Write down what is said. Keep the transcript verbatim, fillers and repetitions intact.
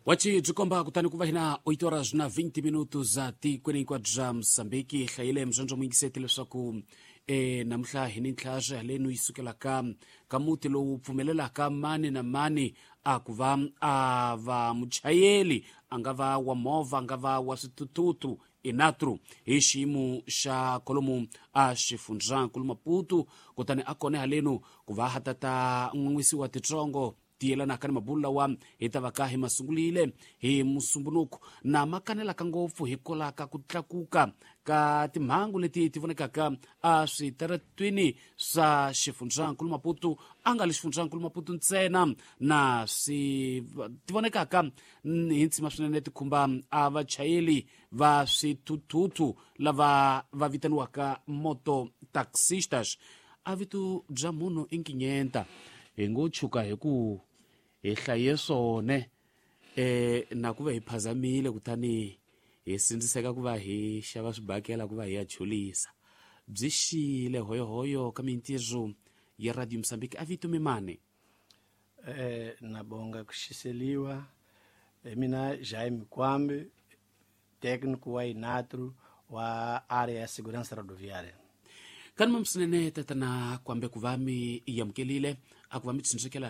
Wachi byi komba kutani ku va hina oito horas na vinte minutos za tikweni hinkwabyo bya Mosambiki. Hlayile mzondzo muyingiseti leswaku e namuntlha hi ni ntlhaxa halenu yi sukelaka ka muti lowu pfumelelaka mani na mani a ku va a va muchayeli, a nga va wa movha, a nga va wa swithuthuthu, inatru hi xiyimo xa kolomu a xifundzankulu Maputo. Kutani a kone halenu ku va ha tata n'wan'wisiwa titsongo ti yelanaka ni mabulu lawa hi ta va ka hi masungulile hi Musumbunuku, na ma kanelaka ngopfu hi kolaka ku tlakuka ka timhangu leti ti vonekaka a switaratwini swa xifundzankulu Maputo, a nga li xifundzankulu Maputo ntsena, na swi ti vonekaka hi ntsima swinene ti khumba a vachayeli va swithuthuthu lava va vitaniwaka moto taxistas. A vito bya munhu i nkinyenta hi ngo chuka hi ku hi hlaye swone eh na ku va hi phazamile, kutani hi sindziseka ku va hi xava swibakela ku va hi ya chulisa. Byi xile hoyohoyo ka mintirho ya Radio Mosambiki. A vito mimani? Eh nabonga kushiseliwa. Mina Jaime Kwambe, técnico wa Inatro wa área ya segurança rodoviária. Kani mamsinene tatana Kwambe, ku va mi yamukelile a ku va mi tshunxekela.